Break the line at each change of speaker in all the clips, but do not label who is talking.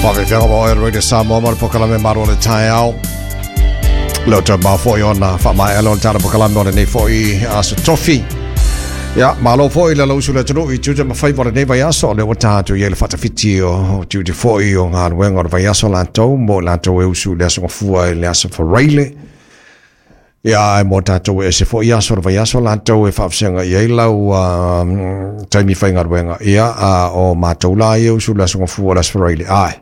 Faafefea ma oe Radio Samoa ma le polokalame Malu o le Taeao. Leo toe mau foi ona faamaea lea o le tala polokalame o lenei foi aso tofi. Ia, malo foi le lausu le atunuu i tiute ma faiva o lenei vaiaso. O lea ua tatou i ai le faatafiti o tiute foi o galuega o le vaiaso latou mo i latou e usu i le aso Gafua i le aso Faraile. Ia, ae mo tatou e ese foi aso o le vaiaso latou e faafesaga i ai lau taimi faigaluega. Ia, a o matou la ia usu le aso Gafua le aso Faraile, ae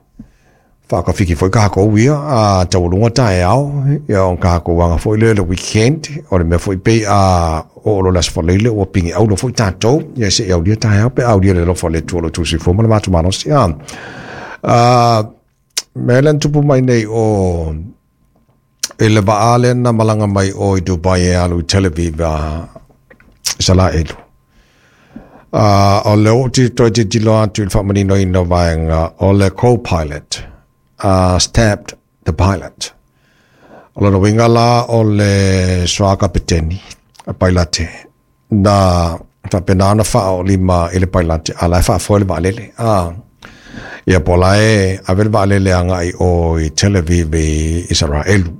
faakafiki foi kākou ia, a taualuga taeao, ia o kākou aga foi lea le weekend, o le mea foi pei a oo loa le aso Faraile ua pigi auro foi tatou, ia se i aulia taeao pe a aulia le alofa o le Atua o lo outou soifua ma le matou malosi. A mea lea na tupu mai nei o i le vaa lea na malaga mai o i Dubai e alu i Tel Aviv a Isaraelu. O le ou te toe tilotilo atu i le faamaninoina o vaega o le co-pilot stabbed the pilot. O lona uiga la o le soa kapeteni a pailate na faapena ona faaolima i le pailate a la e faafoe le vaalele. Ia po o la e ave le vaalele agai o i Tel Aviv i Isaraelu.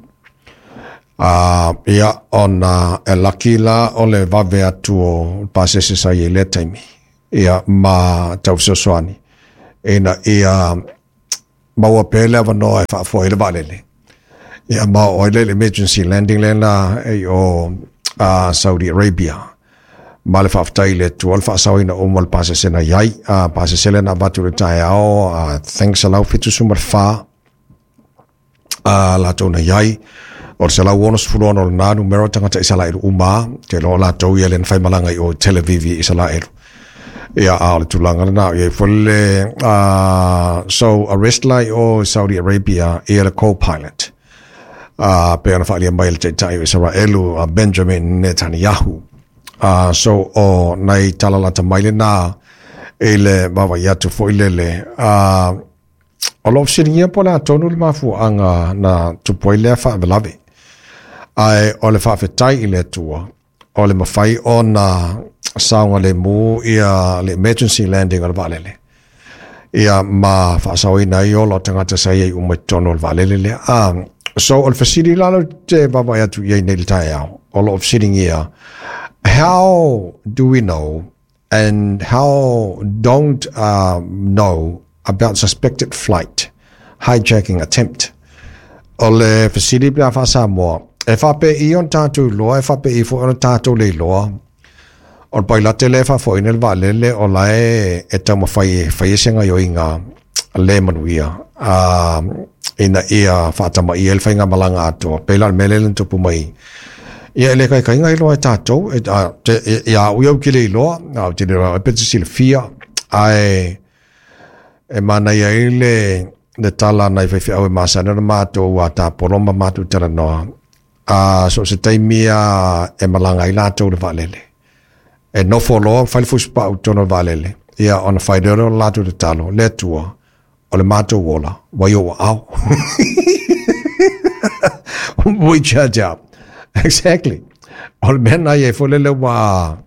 Ia, ona e laki la o le vave atu o pasese sa i ai lea taimi, ia, ma tau fesoasoani ina ia maua pea le avanoa e faafoe ai le vaalele. Ia, ma oo ai lea i le emergency landing lea na i o Saudi Arabia. Ma le faafetai i le Atua le faasaoina uma o le pasese na i ai. Pasese lea na avatu i le taeao, thanks 174 latou na i ai. O le 166 o lena numera o tagata Isaraelu uma, te iloa o latou ia lea na faimalaga i o i Tel Aviv i Isaraelu. Ia, a o le tulaga lena, i ai foi le, so arrest la i o i Saudi Arabia ia le co-pilot. Pei ona faaalia mai e le taitai o Isaraelu a Benjamin Netanyahu. So o nai tala lata mai lena i le vaavaai atu foi lele. O lo o fesiligia po o le a tonu le mafuaaga na tupu ai lea faalavelave. Ae o le faafetai i le Atua, o le mafai ona saogalemu ia le emergency landing o le vaalele. Ia ma faasaoina ai ola o tagata sa i ai uma i totonu o le vaalele lea. So o le fesili la lea ou te vaavaai atu i ai nei i le taeao, o lo o fesiligia, how do we know and how don't know about suspected flight hijacking attempt? O le fesili pe a faa-Samoa, e faapei ona tatou iloa, e faapei foi ona tatou le iloa, o le pailate lea e faafoeina le vaalele o la e taumafai e fai se gaoioiga le manuia ina ia faatamaia ai le faigamalaga atoa. Pei la o le mea lea na tupu mai, ia e le kaikaiga iloa e tatou, ia au ia ou te le iloa, ou te le iloa pe te silafia, ae e manaia ai le tala a nai faifeau e masani ona matou tapolo ma matou talanoa, so o se taimi lava e malaga ai latou i le vaalele. E nofo loa fai le fusupau i totonu o le vaalele, ia ona fai lea o le latou tatalo, le Atua, o le matou ola, ua i ou aao. We charge out. Exactly. O le mea na i ai foi lele ua...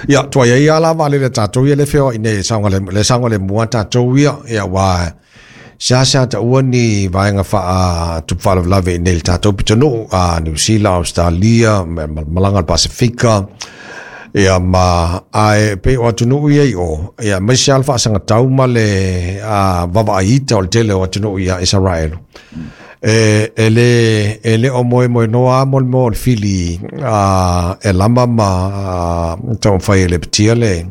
Ia, tuai ai lava la vaalele a tatou ia le feoai nei e saogalemu, le saogalemu a tatou ia, ia ua seasea taua ni vaega faatupu faalavelave i nei i le tatou pitonuu, a Niu Sila, Australia, malaga le Pasifika, ia ma ae pei o atunuu ia i o, ia aemaise lava le faasagatau ma le vaavaai ita o le tele o atunuu ia Isaraelu. E le o moemoenoa lava mo le mea o le fili e lama ma taumafai e lepetia le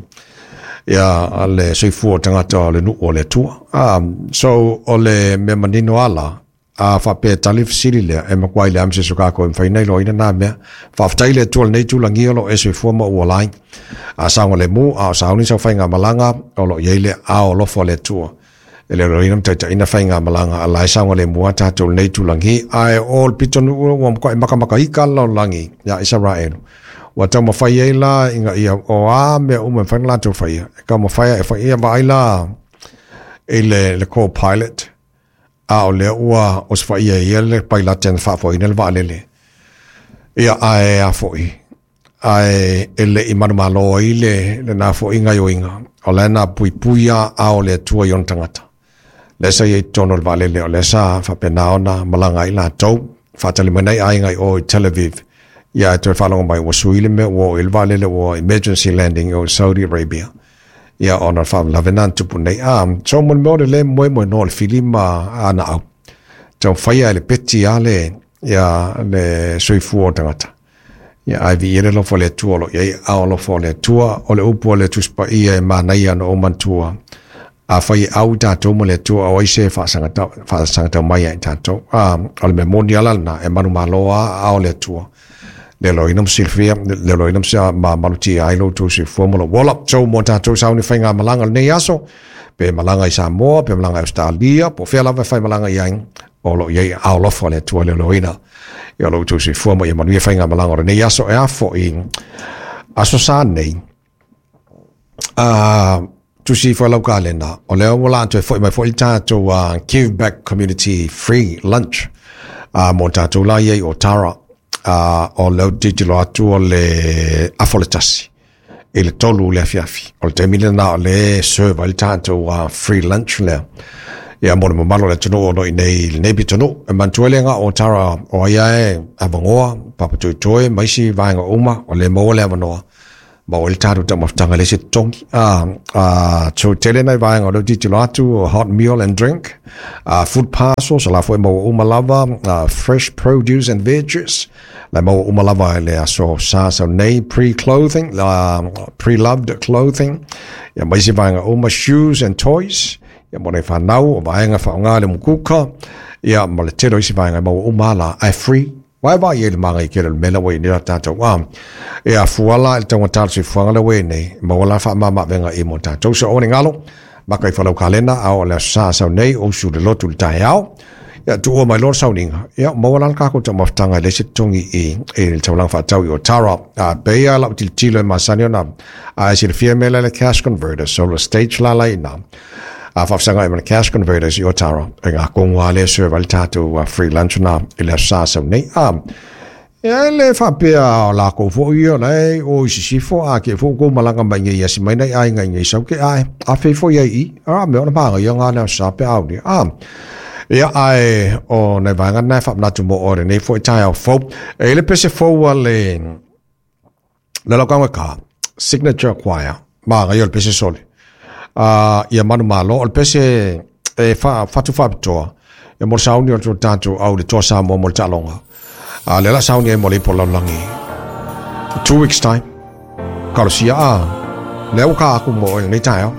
ia le soifua o tagata o le nuu o le Atua. So o le mea manino lava la, a faapea e tali le fesili lea, e matua leai ma se isi o kākou e mafai ona iloaina nā mea. Faafetai i le Atua i lenei tulagia o lo o e soifua ma ou ola ai. A saogalemu, a o sauni sau faigamalaga, o lo o i ai le aao alofa o le Atua. E le iloaina ma taitaiina faigamalaga a la e saogalemu lava tatou i lenei itulagi. Ae o le pitonuu ua matuai makamakaika le lalolagi ia Isaraelu. Ua taumafai ai la ina ia o a mea uma e mafai ona latou faia, e taumafai e fai ia vaai la i le co-pilot, a o lea ua osofaia e ia le pailate na faafoeina le vaalele. Ia, ae a foi, ae e le i manumalo ai lena foi gaoioiga, o la e na puipui lava ao o le Atua i ona tagata. Lea sa i ai totonu o le vaalele, o lea sa faapena ona malaga ai latou, faatali mai nai aiga i o i Tel Aviv. Ia ae toe faalogo mai ua sui le mea ua oo i le vaalele ua emergency landing i o i Saudi Arabia. Ia ona o le faalavelave lena na tupu nei. A, so mo le mea o le le moemoenoa o le filima a naau, taumafai lava e lepeti lava le, ia, le soifua o tagata. Ia, ae viia le alofa o le Atua o lo o i ai aao alofa o le Atua. O le upu a le Tusi Paia e manaia ona ou manatua, Afai e au i tatou ma le Atua, o ai se faasagatau mai ia i tatou? A, o le mea moni lava la lena, e manumalo lava aao o le Atua. Le loina ma silafia, le loina ma malutia ai lo outou soifua ma lou ola. So, mo tatou sauni faigamalaga o lenei aso, pe malaga i Samoa, pe malaga i Ausetalia, po o fea lava e faimalaga i ai, o lo o i ai aao alofa o le Atua le loina i lo outou soifua ma ia manuia faigamalaga o lenei aso. E a foi aso Sa nei, tusi ifo e lau kalena, o lea ua la toe foi mai foi le tatou Give Back Community Free Lunch mo tatou la ia i Otara. O lea ou te tilotilo atu o le afa o le 1 i le 3 le afiafi. O le taimi lena o lea e serve ai le tatou free lunch lea. Ia mo le mamalu o le atunuu o lo o i nei i lenei pitonuu. E manatua le ga o Otara o ai lava e avanoa, papatoetoe ma isi vaega uma, o lea e maua le avanoa. Ma o le tatou taumafataga le se totogi. So tele nai vaega o lea ou te tilotilo atu, hot meal and drink, food parcels, o la foi e maua uma lava, fresh produce and veggies, la e maua uma lava i le aso Sa sau nei, pre-clothing, pre-loved clothing, ia ma isi vaega uma, shoes and toys, ia mo nai whanau, o vaega whaonga le mukuka, ia ma le tele o isi vaega e maua uma la, ae free. Vae vaai i ai le māngai tele o le mea lea ua i ai nei la tatou a e afua la i le taugata o le soifuaga lea ua i ai nei, maua la faamama-avega i mo tatou. So aua ne i galo, maka ifo lau kalena a o le aso Sa sau nei, o usu i le lotu i le taeao, ia tuua mai loa le sauniga, ia maua la le kākou taumafataga e leai se totogi i le taulaga faatau i Otara. A pei lava lau tilotilo e masani ona a e silafia mea lea le cash converter, solar stage la la i ina. A faafesagai ma le cash converters i Otara, e ngā kongo a le serve ai le tātou free lunch na i le aso Sa sau nei. A, e le faapea o lākou foi ia la e o i sisifo, a ke fo kou malaga mai nei asi mai nei aiga i nei sau ke ae, a fei foi ai i, a me ona pānga ia ngā le aso Sa pe au ni. A, ia ae o nai vaega na e whaamanatu mo ore nei foi taeao fou. E le pese fou a le Le lau kaua ka, Signature Choir, māngai o le pese sole. Ia manu malo, o le pese e whatu whapitoa, ia mo le sauni o le tātou au le toa Samoa mo le taaloga. Le la sauni ai mo le ipo lalolagi. 2 weeks time, kalosia a, lea ua ka aku mo oe lenei taeao.